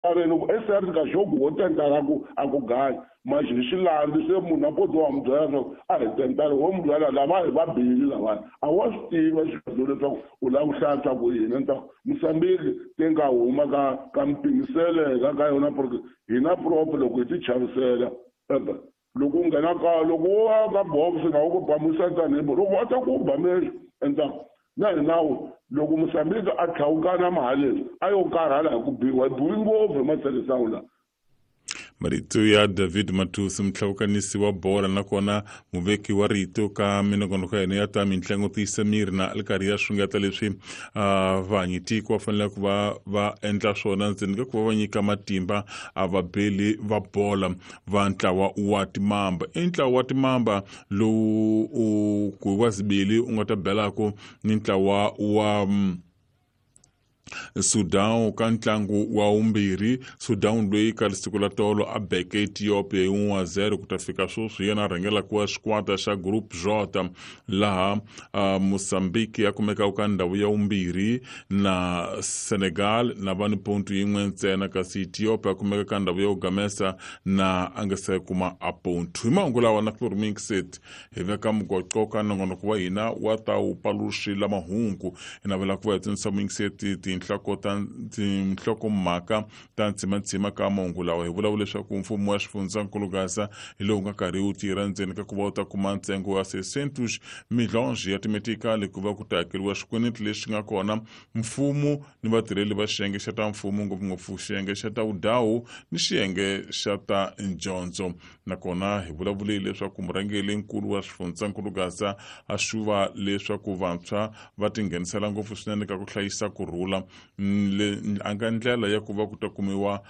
Areni ku SR ka jogo wo tentara ku a ku ganya mas hi xilandzi se munhu a poto wa n'wi byela leswaku a hi tentara wo n'wi byela lava hi va bili lavaya a wa swi tiva xivadzo leswaku u lava ku hlantswa ku yini ni ta Mozambique ti nga huma ka mipimiseleka ka yona porque hina prop loko hi ti chavisela loko u nghena ka loko wo ya ka box na wu ku ba musatani loko va ta ku ba mehlo endzhaku na hi nawu loko Mozambique a tlhawukana mahaleni a yo karhala hi ku biwa hi biwi ngopfu hi matselisawu lawa. Marito ya David Matusi, mutlhawukanisi wa bola nakona muveki wa rito ka minongonoko ya hina ya ta mintlangu tiyisa miri na ali karhi ya xungeta leswi vanyi tiko va fanele ku va va endla swona ndzeni ka ku va va nyika matimba a vabeli va bola va ntlawa wa timamba. I ntlawa wa timamba lowu u ku wa zibili u nga ta belaku ni ntlawa wa Sudan ka ntlangu wa vumbirhi. Sudan loyi ka siku la tolo a beke Ethiopia hi 1-0 ku ta fika sweswi yena a rhangelaka wa xikwata xa Group J, laha Mozambique ya kumekaka ka ndhawu ya vumbirhi na Senegal na va ni pontu yin'we ntsena, kasi Ethiopia ya kumeka ka ndhawu ya ku gamesa na a nga se kuma a pontu. Hi mahungu lawa na Flormixet hi veka mugoqo ka nongonoko wa hina wa ta wu paluxila mahungu. Hi navela ku va hi tsundzuxa muyingiseti tinhloko ta tinhlokomhaka ta ntsimantsima ka mahungu lawa. Hi vulavula leswaku mfumo wa xifundzankulu Gaza hi lowu nga karhi wu tirha ndzeni ka ku va wu ta kuma ntsengo wa 600 milhonge ya timetikali ku va ku ta hakeriwa xikweleti lexi nga kona mfumo ni vatirheli va xiyenge xa ta mfumo, ngopfungopfu xiyenge xa ta vudawu ni xiyenge xa ta ndyondzo. Nakona hi vulavule leswaku murhangeri-nkulu wa xifundzankulu Gaza a xuva leswaku vantshwa va tinghenisela ngopfu swinene ka ku hlayisa ku rhula a nga ndlela ya ku va ku ta kumiwa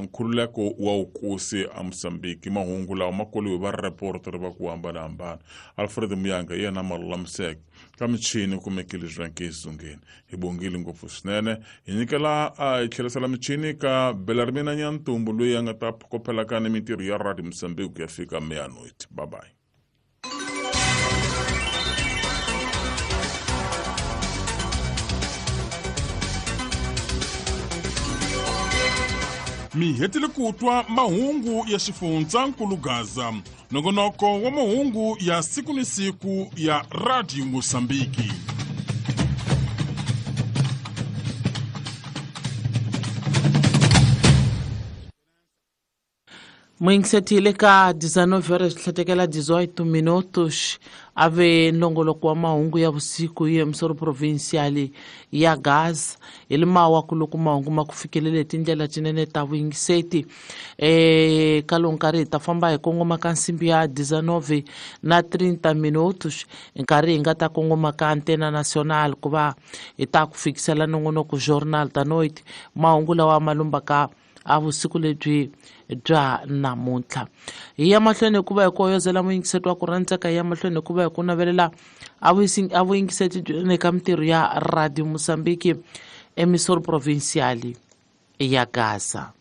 nkhululeko wa wukosi a Mozambique. Mahungu lawa ma koliwe va reporter va ku hambanahambana. Alfred Muyanga yena ma lulamiseke ka michini kumekile Zwanke Zungeni. Hi bongile ngopfu swinene. Hi nyikela hi tlherisela michini ka Belarmina Nyantumbu loyi a nga ta phokophelaka ni mintirho ya Radio Mozambique ku ya fika meia-noite. Bye bye. Mi hetile ku twa mahungu ya xifundzankulu Gaza, nongonoko wa mahungu ya siku ni siku ya Radio Mosambiki. Muyingiseti le ka 19 horas tlhatekela 18 minutos a ve nongoloko wa mahungu ya vusiku hi emisoro provincial ya Gaza. Hi le mawa ku loko mahungu ma ku fikelele tindlela tinene ta vuyingiseti. Ka lowu nkarhi hi ta famba hi kongoma ka nsimbi ya 19 na 30 minutos, nkarhi hi nga ta kongoma ka Antena Nacional ku va hi ta ku fikisela nongonoko Jornal da Noite, mahungu lawa ma lumbaka a vusiku lebyi bya namuntlha. Hi ya mahlweni hikuva hi ku hoyozela muyingiseti wa ku rhandzeka, hi ya mahlweni hikuva hi ku navelela a vuyingiseti byi ka mintirho ya Radio Mozambique emisoro provincial ya Gaza.